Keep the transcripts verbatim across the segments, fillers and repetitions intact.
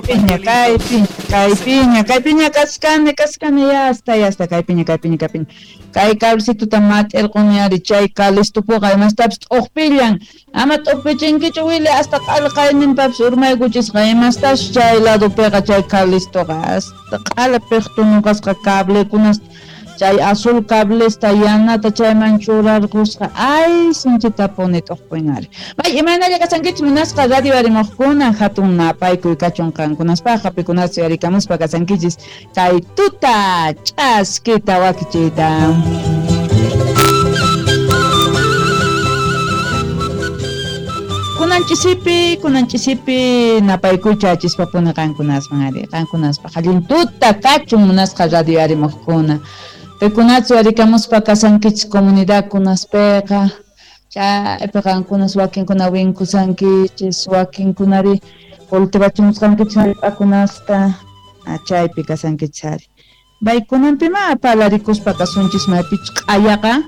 Piña, kaypiña, kaypiña, kaypiña kaskani, kaskani, yasta, yasta, kaypiña, kaypiña, kaypiña. Kay cablecituta mat'irquni ari, chay kalistupuqa imastapis t'uqpillan. Ama t'uqpichinkichu wili hasta q'alqayninpapis urmaykuchisqa imastash chay ladopiqa chay kalistuqa hasta q'ala piqtunuqasqa cablekunas chay azul cablesta yanata chayman churarqusqa. Ay, sinchitapuni t'uqpin ari. May imaynalla kasankichis munasqa radio arimuqkuna hatun napaykuy kachun qankunaspaqqa pikunas yarikamuspa kasankichis kay tuta ch'askita wakichiyta. Kunanchispi, kunanchispi napaykuycha chispapuni qankunasman ari, qankunaspaq allin tuta kachun munasqa radio arimuqkuna. Pikunatsu yarikamuspa kasankichis comunidadkunaspiqa, chaypi qankunas wakinkuna winkusankichis, wakinkunari cultivachimusqankichis hallp'akunasta, chaypi kasankichis ari. Baykunanpima parlarikuspa kasunchis maypichus q'ayaqa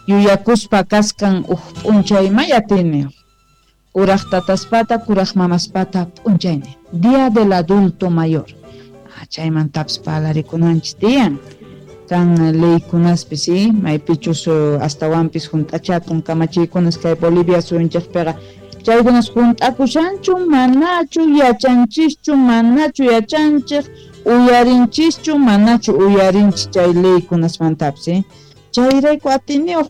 yuyakuspa kaskan uj p'unchay mayatini. Kuraj tataspata, kuraj mamaspata p'unchayni. Día del adulto mayor. Chaymantapis parlarikunanchis tiyan. Kan leykunaspis, sí, maypichus astawanpis junt'achakun kamachiykunas kay Bolivia suyunchikpiqa. Chaykunas junt'akushanchu, manachu yachanchischu, manachu yachanchik, uyarinchischu, manachu uyarinchis chay leykunasmantapis, sí. Chayrayku atiniyuq